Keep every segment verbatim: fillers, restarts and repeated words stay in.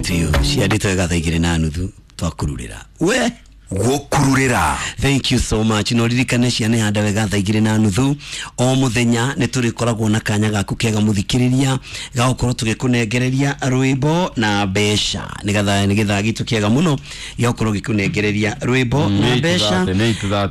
Biũ ciandĩtwo wega thaa igĩrĩ na nuthu twakururĩra we Gũkururĩra. Thank you so much. No ririkane ciana handa wega thaa igĩrĩ na nuthu o mũthenya nĩ tũrĩkoragwo na kanya gaku kega mũthikĩrĩria ga gũkorwo tũgĩkũnengereria rwĩmbo na mbeca nĩgetha nĩ gĩthaa gitũ kĩega mũno gĩa gũkorwo gĩkũnengereria rwĩmbo na mbeca.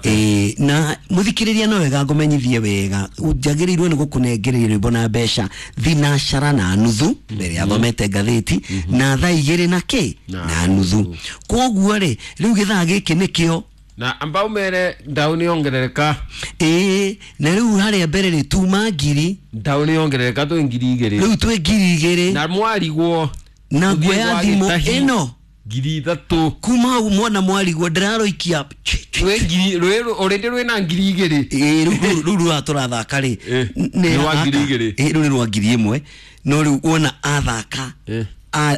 Ĩĩ, na mũthikĩrĩria no wega ngũmenyithie wega njagĩrĩirwo nĩ gũkũnengereria rwĩmbo na mbeca thinacara na nuthu mbere ya thomete ngathĩti na thaa igĩrĩ na kĩ na nuthu. Koguo rĩ rĩu gĩthaa gĩkĩ nĩkĩo na ambao mere ndau nĩ yongerereka. Ĩĩ, na rĩu harĩa mbere rĩ tuma ngiri ndau nĩ yongerereka twĩ ngiri igĩrĩ rĩu twĩ ngiri igĩrĩ na mwarigwo na nguoya thimũ ĩno ngiri ithatũ kuma hau mwana mwarigwo ndĩraroikia rwĩ ngiri rwĩ already rwĩna ngiri igĩrĩ. Ĩĩ, rĩu rĩu rũrũ tũrathaka rĩ nĩ rwa ngiri igĩrĩ. Ĩĩ, rũu nĩ rwa ngiri ĩmwe no rĩu wona athaka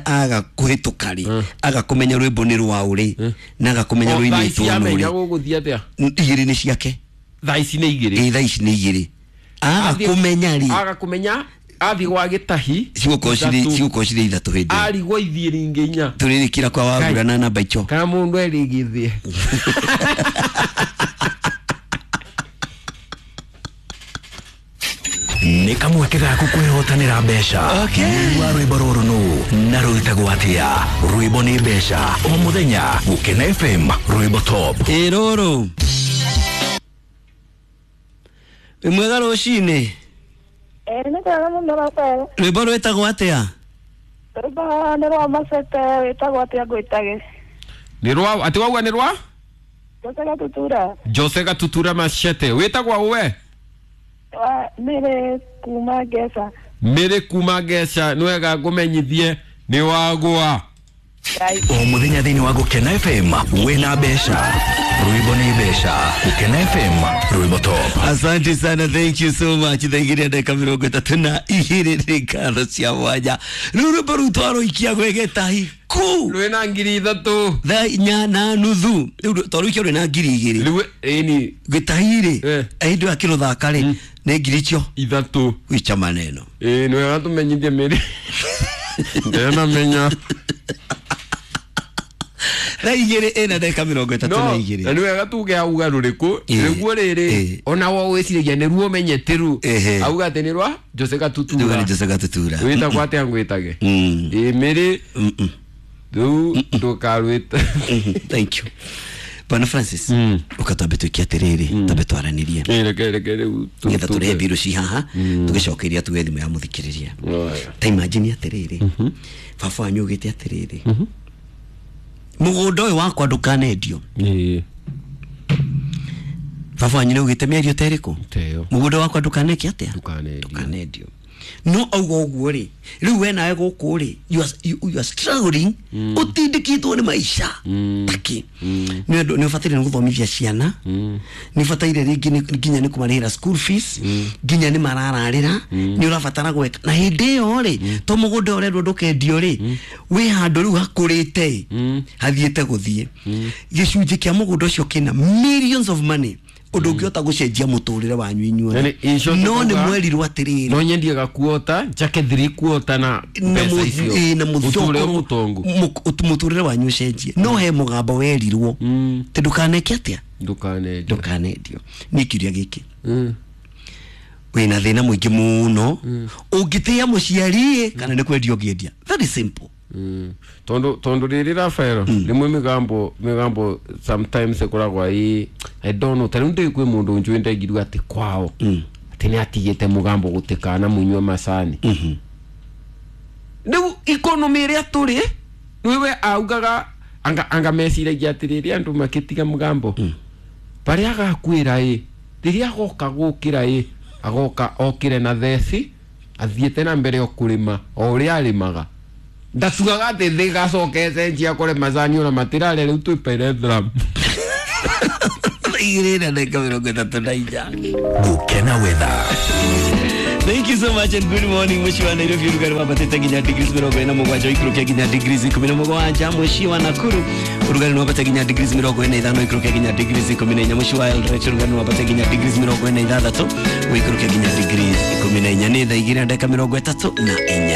aga kuhituka ri aga kumenya rwimbo ni rwa uri na aga kumenya rwinitwo nuri gũgũthiĩ atĩa igĩrĩ nĩ ciake thaa ici nĩ igĩrĩ. Ĩĩ, thaa ici nĩ igĩrĩ aga kumenya ri aga kumenya athi gwa gĩtahi cigũkorwo cirĩ cigũkorwo cirĩ ithatũ hĩndĩ ĩyo arigwo ithiĩ ringĩ inya tũrĩrĩkĩra kwa wagura na namba icio kana mũndũ erĩ gĩthĩe. Nĩ kamweke gaku kwĩhotanĩra mbeca. Wa rwĩmbo rũrũ nũ na rwĩtagwo atĩa? Rwĩmbo nĩ mbeca o mũthenya Gũkena F M rwĩmbo top. Ĩ rũrũ wĩ mwega rũcinĩ. Ĩĩ, nĩ kwega mũno Rafael. Rwĩmbo rwĩtagwo atĩa? Rwĩmbo nĩ rwa Macete rwĩtagwo atĩa ngwĩtage? Nĩ rwa atĩ wauga nĩ rwa Jose Gatutura. Jose Gatutura Macete wĩtagwo ũwe? Mĩrĩ kuma Ngeca. Mĩrĩ kuma Ngeca nĩ wega ngũmenyithie nĩ wagũa. O mũthenya thĩinĩ wa Gũkena F M wĩna mbeca. Rwĩmbo nĩ mbeca. Gũkena F M rwĩmbo top. Asante sana, thank you so much. Thaa igĩrĩ ndagĩka mĩrongo ĩtatũ na igĩrĩ nĩ ngatho cia mwanya. Rĩu rwĩmbo rũu twarũikia gwĩ gĩtahi ku rwĩna ngiri ithatũ thaa inya na nuthu rĩu twarũikia rwĩna ngiri igĩrĩ rĩu ĩni gĩtahi rĩ hĩndĩ ĩyo akĩrũthaka rĩ nĩ ngiri icio ithatũ gwicha maneno. Ĩĩ, nĩ wega tũmenyithie mĩrĩ ndenamenya thaa igĩrĩ ĩna ndagĩka mĩrongo ĩtatũ na igĩrĩ na nĩ wega tuge auga rũrĩkũ rĩguo rĩrĩ ona wo wĩciragia nĩruo ũmenyete ru auga atĩ nĩ rwa Jose Gatutura. Nĩ Jose Gatutura wĩtagwo atĩa ngwĩtage? Ĩĩ, mĩrĩ rĩu ndũkarwĩte. Thank you Bwana Francis. Ũkatwambe twĩke atĩrĩrĩ twambe twaranĩrie nĩgetha tũrehe mbirũ ci haha tũgĩcokeria tuge thimũ ya mũthikĩrĩria. Ta imagine atĩrĩrĩ baba wanyu augĩte atĩrĩrĩ mũgũnda ũyũ wakwa ndũkanendio. Ĩĩ, baba wanyu nĩaugĩte mĩario ta ĩrĩkũ? Mũgũnda wakwa ndũkaneke atĩa? Ndũkanendio. No auga ũguo rĩ rĩu we nawe gũkũ rĩ you are, you, you are struggling ũtindĩkĩtwo nĩ maica takĩ nĩ ũndũ nĩ ũbataire nĩ gũthomithia ciana nĩ ũbataire rĩngĩ nginya nĩ kũmarĩhĩra school fees nginya nĩ marararĩra nĩ ũrabatara gweka na hĩndĩ ĩyo rĩ to mũgũnda ũrerwo ndũkendio rĩ wĩ handũ rĩu hakũrĩte hathiĩte gũthiĩ gĩcunjĩ kĩa mũgũnda ũcio kĩna millions of money ũndũ ũngĩhota gũcenjia mũtũrĩre wanyu inyuothe no nĩ mwerirwo atĩrĩrĩ no nyendie gakuota njake thiri kuota na mbeca icio na mũtũrĩre mũtongu mũtũrĩre wanyu ũcenjie no he mũgambo werirwo tĩ ndũkaneke atĩa ndũkanendio ndũkanendio. Nĩ kĩũria gĩkĩ wĩna thĩna mũingĩ mũno ũngĩtĩĩa mũciari kana nĩ kwendia ũngĩendia? Very simple. Mm. Tondu tondu riri Rafael rimwe migambo migambo sometimes ikoragwo i I don't know tariu ndi kwi mundu njui ndaigirwa ati kwao ati ni atigite mugambo gutikana munywe macani riu economy iria turi niwe augaga anga anga meciragia atiriri andu makitiga mugambo baria agakwira i riria agoka gukira i agoka okire na theci athiete na mbere okurima o uria arimaga ndatugaga atä thä gacoke cenjia kore macani ona matirarĩa rĩu twĩ Peretram. Igĩrĩ na ndagĩka mĩrongo ĩtatũ na inya. Gũkena weather. Thank you so much and good morning. Mũciĩ wa Nairobi ũrugarĩ wambatĩte nginya degrees mĩrongo ĩna mũgwanja ũikũrũke nginya degrees ikũmi na mũgwanja. Mũciĩ wa Nakuru ũrugarĩ nĩ wambate nginya degrees mĩrongo ĩna ithano ũikũrũke nginya degrees ikũmi na inya. Mũciĩ wa Eldoret ũrugarĩ nĩ wambate nginya degrees mĩrongo ĩna ithathatũ ũikũrũke nginya degrees ikũmi na inya. Nĩ thaa igĩrĩ na ndagĩka mĩrongo ĩtatũ na inya.